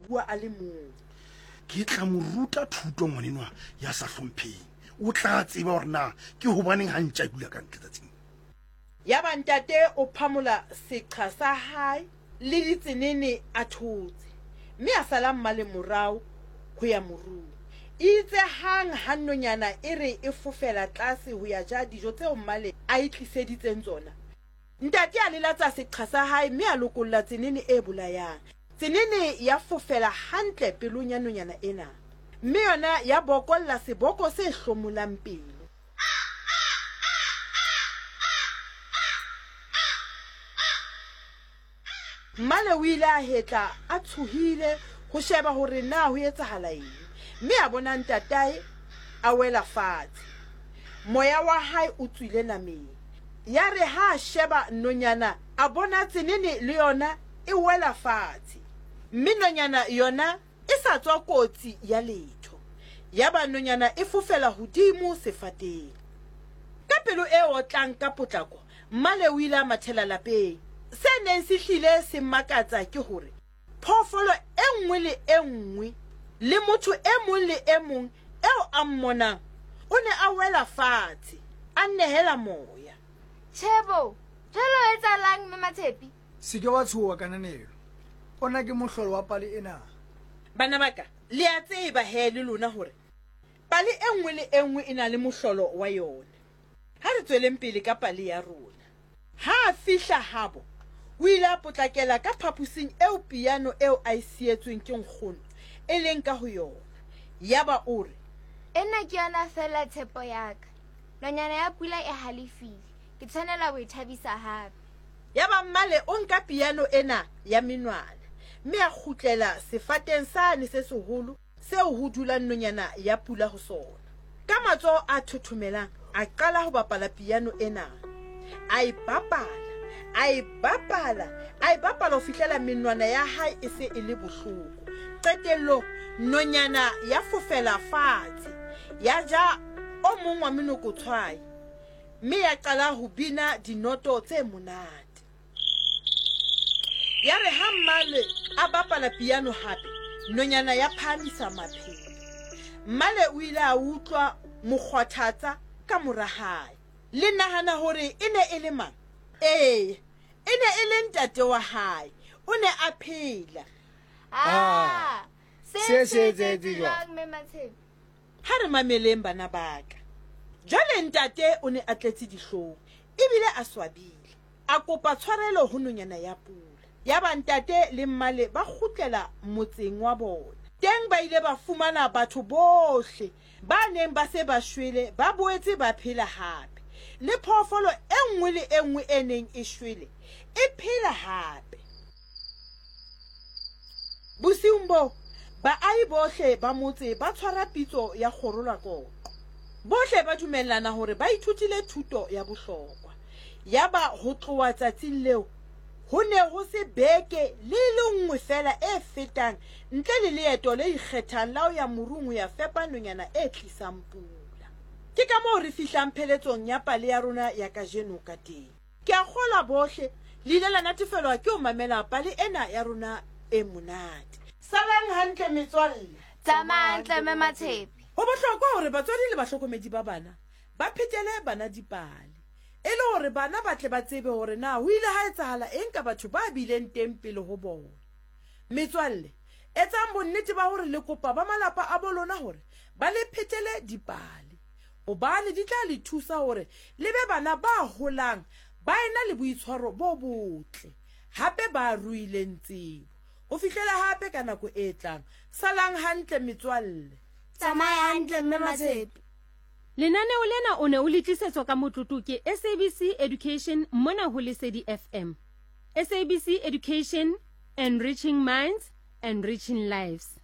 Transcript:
bua a le mong. Ke tla mo ruta thuto ngwanenwa ya sa hlompheng. O tla tseba hore na ke hobaneng ha ntja e dula ka ntle tsatsing. Yaba ntate o phamola seqha sa hae le ditsenene a thotse, mme a sala mmale morao ho ya morung. Eitse hang ha nonyana e re e fofela tlase ho ya ja dijo tseo mmale a e tliseditseng tsona, ntate a lelatsa seqha sa hae mme a lokolla tsenene e bolayang. Tsenene ya fofela hantle pelong ya nonyana ena, mme yona ya bokolla seboko se hlomolang pelo. Mmale o ile a hetla a tshohile ho sheba hore na ho etsahala eng, mme a bona ntatae a wela fatshe. Moya wa hae o tswile nameng. Yare ha a sheba nonyana a bona tsenene le yona e wela fatshe, mme nonyana yona e sa tswa kotsi ya letho. Yaba nonyana e fofela hodimo sefateng. Ka pelo e otlang ka potlako, Mmale o ile a mathela lapeng. Se neng se hlile se makatsa ke hore phoofolo e nngwe le e nngwe le motho e mong le e mong eo a mmonang o ne a wela fatshe, a nehela moya. Tjhe bo, jwale ho etsahalang Mme Matshepi? Se ke wa tshoha, Kananelo. Ona ke mohlolo wa pale ena. Bana ba ka, le a tseba he le lona hore pale e nngwe le e nngwe e na le mohlolo wa yona. Ha re tsweleng pele ka pale ya rona. Ha a fihla habo, o ile a potlakela ka phaposing eo piano eo a e sietsweng ke nkgono e leng ka ho yona. Yaba o re. Ena ke yona feela tshepo ya ka. Nonyana ya pula e halefile. Ke tshwanela ho e thabisa hape. Yaba Mmale o nka piano ena ya menwana mme a kgutlela sefateng sane se seholo seo ho dulang nonyana ya pula ho sona. Ka matsoho a thothomelang a qala ho bapala piano ena. A e bapala, a e bapala, a e bapala ho fihlela menwana ya hae e se e le bohloko. Qetellong nonyana ya fofela fatshe, ya ja o mong wa menokotshwai mme ya qala ho bina dinoto tse monate. Ya re ha Mmale a bapala piano hape, nonyana ya phahamisa mapheo. Mmale o ile a utlwa mokgwathatsa ka mora hae. Le nahana hore e ne e le mang? Ee, e ne e le ntate wa hae. O ne a phela. Ah, se se etsahetse jwang? Mme Matshepe? Ha re mameleng bana ba ka. Jwale ntate o ne a tletse dihlong ebile a swabile. A kopa tshwarelo ho nonyana ya pula. Yaba ntate le mmale ba kgutlela motseng wa bona. Teng ba ile ba fumana batho bohle ba neng ba se ba shwele ba boetse ba phela hape. Le phoofolo e nngwe le e nngwe e neng e shwele e phela hape. Bosiung boo, baahi bohle ba motse ba tshwara pitso ya kgorolakoqo. Bohle ba dumellana hore ba ithutile thuto ya bohlokwa. Yaba ho tloha tsatsing leo, ho ne ho se beke le e le nngwe feela e fetang ntle le leeto le ikgethang la ho ya morung ho ya fepa nonyana e tlisang pula. Ke ka moo re fihlang pheletsong ya pale ya rona ya kajeno ka teng. Ke a kgolwa bohle le ile la natefelwa ke ho mamela pale ena ya rona e monate. Salang hantle metswalle. Tsamaya hantle Mme Matshepe. Ho bohlokwa hore batswadi le bahlokomedi ba bana ba phetele bana dipale e le hore bana ba tle ba tsebe hore na ho ile ha etsahala eng ka batho ba bileng teng pele ho bona. Metswalle, etsang bonnete ba hore le kopa ba malapa a bo lona hore ba le phetele dipale hobane di tla le thusa hore le be bana ba holang ba ena le boitshwaro bo botle hape ba ruileng tsebo. Ho fihlela hape ka nako e tlang, salang hantle metswalle. Tsamaya hantle Mme Matshepe. Lenaneo lena o ne o le tlisetswa ka motlotlo ke SABC Education mona ho Lesedi FM. SABC Education, enriching minds, enriching lives.